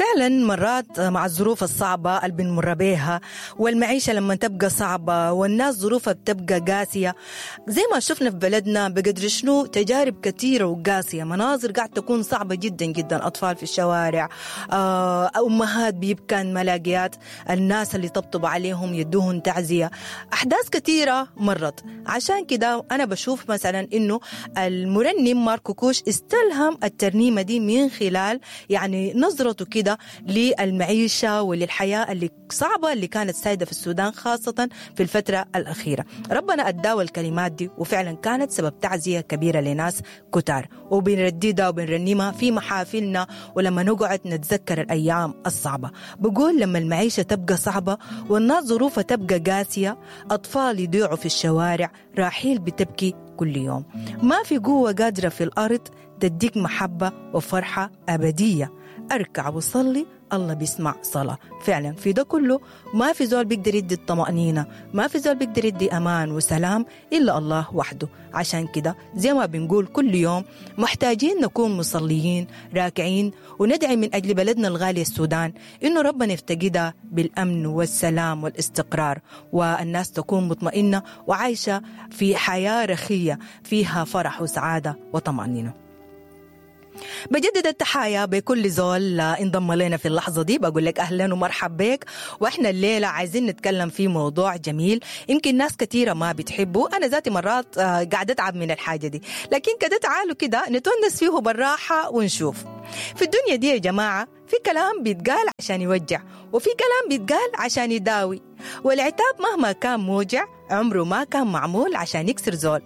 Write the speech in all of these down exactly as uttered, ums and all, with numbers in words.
فعلا مرات مع الظروف الصعبة اللي بنمر بيها، والمعيشة لما تبقى صعبة والناس ظروفها بتبقى قاسية، زي ما شفنا في بلدنا بقدر شنو تجارب كثيرة وقاسية، مناظر قاعد تكون صعبة جدا جدا، أطفال في الشوارع، أمهات بيبكان ملاقيات الناس اللي طبطبوا عليهم يدوهن تعزية، أحداث كثيرة مرت. عشان كده أنا بشوف مثلا إنه المرنم ماركو كوش استلهم الترنيمة دي من خلال يعني نظرته كده للمعيشة وللحياة اللي صعبة اللي كانت سايدة في السودان خاصة في الفترة الأخيرة. ربنا أداوى الكلمات دي وفعلا كانت سبب تعزية كبيرة لناس كتار، وبنرددها وبنرنمها في محافلنا ولما نقعد نتذكر الأيام الصعبة. بقول لما المعيشة تبقى صعبة والناس ظروفها تبقى قاسية، أطفال يضيعوا في الشوارع، راحيل بتبكي كل يوم، ما في قوة قادرة في الأرض تديك محبة وفرحة أبدية، أركع وصلي الله بيسمع صلاة. فعلا في ده كله ما في زول بيقدر يدي الطمأنينة، ما في زول بيقدر يدي أمان وسلام إلا الله وحده. عشان كده زي ما بنقول كل يوم محتاجين نكون مصليين راكعين وندعي من أجل بلدنا الغالي السودان إنه ربنا يفتقدها بالأمن والسلام والاستقرار، والناس تكون مطمئنة وعايشة في حياة رخية فيها فرح وسعادة وطمأنينة. بجدد التحايا بكل زول انضم لنا في اللحظة دي، بقول لك أهلا ومرحب بك. وإحنا الليلة عايزين نتكلم في موضوع جميل يمكن ناس كثيرة ما بتحبه، أنا ذاتي مرات قاعدة أتعب من الحاجة دي، لكن كده تعالوا كده نتونس فيه بالراحة ونشوف. في الدنيا دي يا جماعة في كلام بيتقال عشان يوجع، وفي كلام بيتقال عشان يداوي، والعتاب مهما كان موجع عمره ما كان معمول عشان يكسر زول.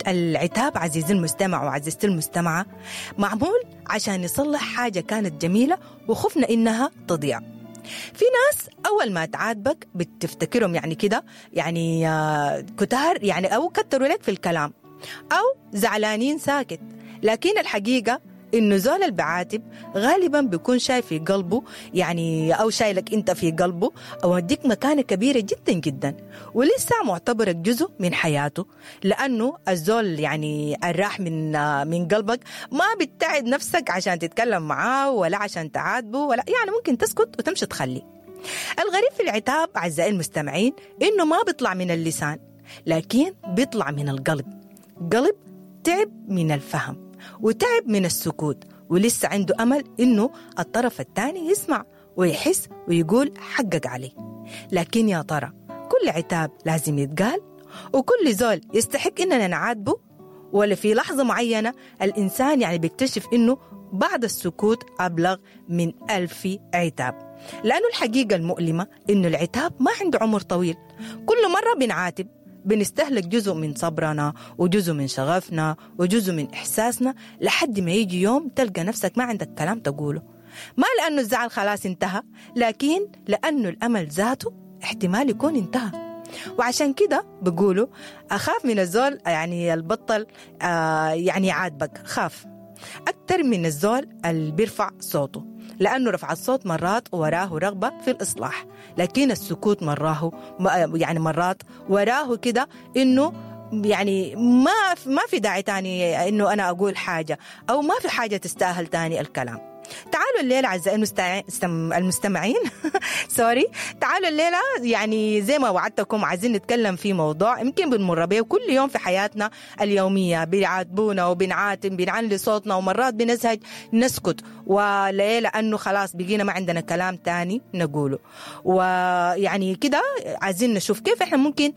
العتاب عزيزي المستمع وعزيزتي المستمعة معمول عشان يصلح حاجة كانت جميلة وخفنا إنها تضيع. في ناس أول ما تعاتبك بتفتكرهم يعني كده يعني كتار يعني أو كتروا لك في الكلام أو زعلانين ساكت، لكن الحقيقة إنه زول البعاتب غالبا بيكون شايف في قلبه يعني أو شايلك أنت في قلبه أو مديك مكانة كبيرة جدا جدا، ولسه معتبرك جزء من حياته، لأنه الزول يعني الراح من من قلبك ما بتتعب نفسك عشان تتكلم معاه ولا عشان تعاتبه ولا يعني ممكن تسكت وتمشي تخلي. الغريب في العتاب أعزائي المستمعين إنه ما بيطلع من اللسان، لكن بيطلع من القلب. قلب تعب من الفهم وتعب من السكوت، ولسه عنده أمل إنه الطرف الثاني يسمع ويحس ويقول حقك عليه. لكن يا ترى كل عتاب لازم يتقال؟ وكل زول يستحق إننا نعاتبه؟ ولا في لحظة معينة الإنسان يعني بيكتشف إنه بعد السكوت أبلغ من ألف عتاب؟ لأنه الحقيقة المؤلمة إنه العتاب ما عنده عمر طويل. كل مرة بنعاتب بنستهلك جزء من صبرنا وجزء من شغفنا وجزء من إحساسنا، لحد ما يجي يوم تلقى نفسك ما عندك كلام تقوله. ما لأنه الزعل خلاص انتهى، لكن لأنه الأمل ذاته احتمال يكون انتهى. وعشان كده بقولوا أخاف من الزول يعني البطل آه يعني عاتبك، خاف أكتر من الزول اللي بيرفع صوته، لأنه رفع الصوت مرات وراه رغبة في الإصلاح، لكن السكوت مراه يعني مرات وراه كده إنه يعني ما ما في داعي تاني إنه أنا أقول حاجة أو ما في حاجة تستاهل تاني الكلام. تعالوا الليلة أعزائي المستمعين سوري، تعالوا الليلة يعني زي ما وعدتكم عايزين نتكلم في موضوع يمكن بنمر به كل يوم في حياتنا اليومية، بيعاتبونا وبنعاتب، بنعلي صوتنا ومرات بنزهج نسكت، وليه؟ لأنه خلاص بقينا ما عندنا كلام تاني نقوله. ويعني كده عايزين نشوف كيف احنا ممكن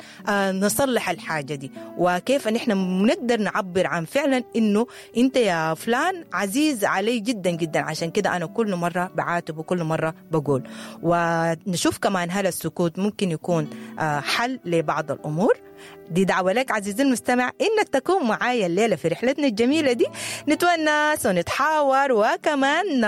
نصلح الحاجة دي، وكيف ان احنا نقدر نعبر عن فعلا انه انت يا فلان عزيز علي جدا جدا، عشان كده أنا كل مرة بعاتب وكل مرة بقول. ونشوف كمان هل السكوت ممكن يكون حل لبعض الأمور. دي دعوة لك عزيزي المستمع إنك تكون معايا الليلة في رحلتنا الجميلة دي، نتونس ونتحاور وكمان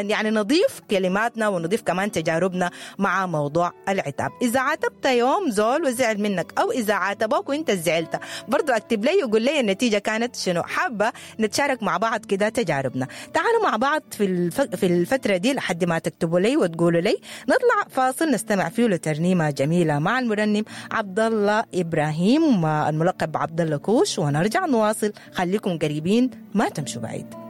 يعني نضيف كلماتنا ونضيف كمان تجاربنا مع موضوع العتاب. إذا عاتبت يوم زول وزعل منك أو إذا عاتبوك وإنت زعلت برضو أكتب لي وقول لي النتيجة كانت شنو. حابة نتشارك مع بعض كده تجاربنا. تعالوا مع بعض في الف... في الفترة دي لحد ما تكتبوا لي وتقولوا لي. نطلع فاصل نستمع فيه لترنيمة جميلة مع المرنم عبد الله إبراهيم الملقب بعبد الله كوش، ونرجع نواصل. خليكم قريبين ما تمشوا بعيد.